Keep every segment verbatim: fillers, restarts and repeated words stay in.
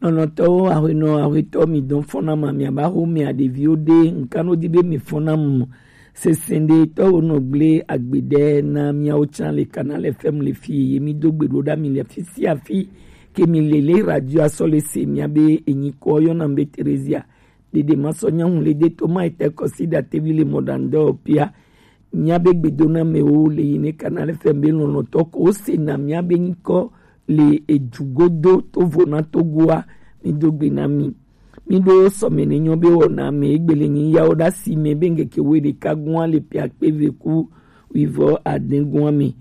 Nɔnɔtɔwo, ahuenɔ, ahuetɔ, mi dɔn fɔna ma, mi aba ho mi aɖeviwo ɖe, nkan no di be mi fɔna mu. Sesɛn ɖe tɔwo nɔ gble agbede na miawo can le Canal F M le fi ye mi do gbe ɖo ɖa mi le fi si afi ke mi le le radio asɔ le se mia be enyi kɔ yɔna be Theresia. Ɖeɖe ma sɔ nyahun le de to ma ete kɔsi da tevi le mɔɖaŋdɔ pia. Mia be gbedona mewo le yi ne Canal F M be lɔlɔtɔ ko se na mia be nyikɔ le ejugodo to vo na Togoa. Mi do gbe na mi. Mi ɖo sɔme ne nyɔ be wɔna me egbele nyi yawo ɖa si me be ŋkeke wo ɖeka gua le pia kpe ve ku wivɔ aden gua me.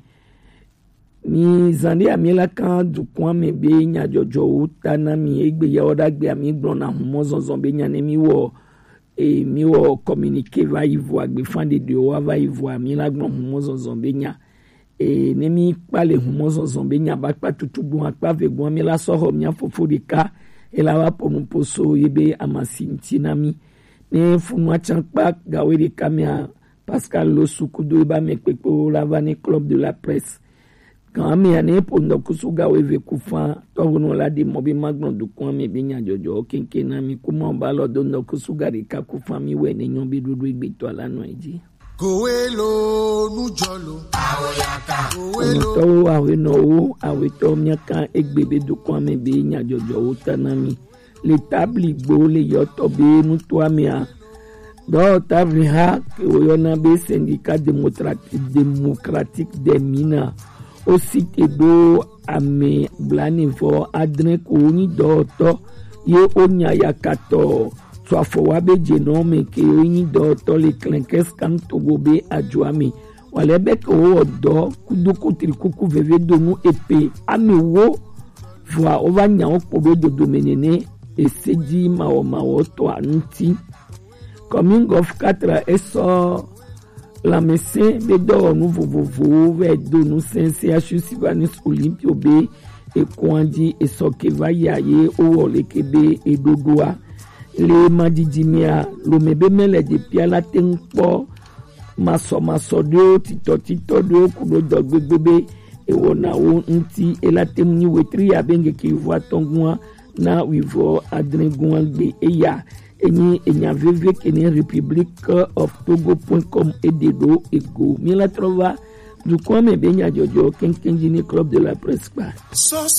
Mi zan ɖe ami la kan dukɔa me be nyadzɔdzɔwo ta na mi egbe yawo ɖa gbe ami gblɔ na humɔ zɔzɔ be nya ne mi wɔ e mi wɔ communiqué va yi vo agbefa ɖeɖewo wa va yi vo ami la gblɔ humɔ zɔzɔ be nya e ne mi kpa le humɔ zɔzɔ be nya ba kpa tutu gbɔn akpa ve gbɔn mi la sɔ xɔ mia fofo ɖeka e la va po nupo so ye be amasi ŋti na mi ne funu atsan kpa gawe ɖeka mia Pascal Losu kudo eba me kpekpewo la va ne Club de la Presse. Gan amea ne po ŋdɔkusu ga weve ku fa tɔwonu la ɖi mɔ be magblɔ dukɔa me be nyadzɔdzɔwo keŋkeŋ na mi kuma o ba lɔ do ŋdɔkusu ga ɖeka ku fa mi wɛ ne nyɔ be ɖoɖo egbetɔ la nɔ edzi. Kowelo nujɔlo. Awoyaka. Kowelo. Ɔnɔtɔwo, awenɔwo, awetɔ miaka egbe be dukɔa me be nyadzɔdzɔwo ta na mi. Le tabli gbo le yɔtɔ be nutoa mea dɔwɔtavi ha ke woyɔna be Syndicat Démocratique, Démocratique des Mines, wo site ɖo ame blaene vɔ adre ko wonyi dɔwɔtɔ ye wonya yakatɔ tso afɔ wa be dzenɔ me ke wonyi dɔwɔtɔ le Klenkes kan Togo be ajoa me. Wale be ke wowɔ dɔ kudo kutri kuku veve donu epe ame wo vɔa wova nya wo kpo ɖo dodome nene ese dzi mawɔmawɔtɔa ŋuti. Commune Golf quatre esɔ lãmesẽ be dɔwɔnu vovovowo vɛ do ŋusẽ C H U Sylvanus Olympio be ekɔa dzi esɔ ke va yia ye wowɔ leke be eɖoɖoa. Le madidi mea, lome be mele ɖepia la te ŋu kpɔ masɔmasɔ ɖewo, titɔtitɔ ɖewo ku ɖo dɔ gbegbe be ewɔna wo ŋuti. Ela te ŋu nyi wetri ya be ŋkeke yovo atɔ̃ gua na wivɔ adre gua gbe eya enyi enya veve ke ne Republic of Togo point com eɖe ɖo ego. Mi la trɔ va dukɔa me be nyadzɔdzɔ keŋkeŋ dzi ne Club de la Presse kpa.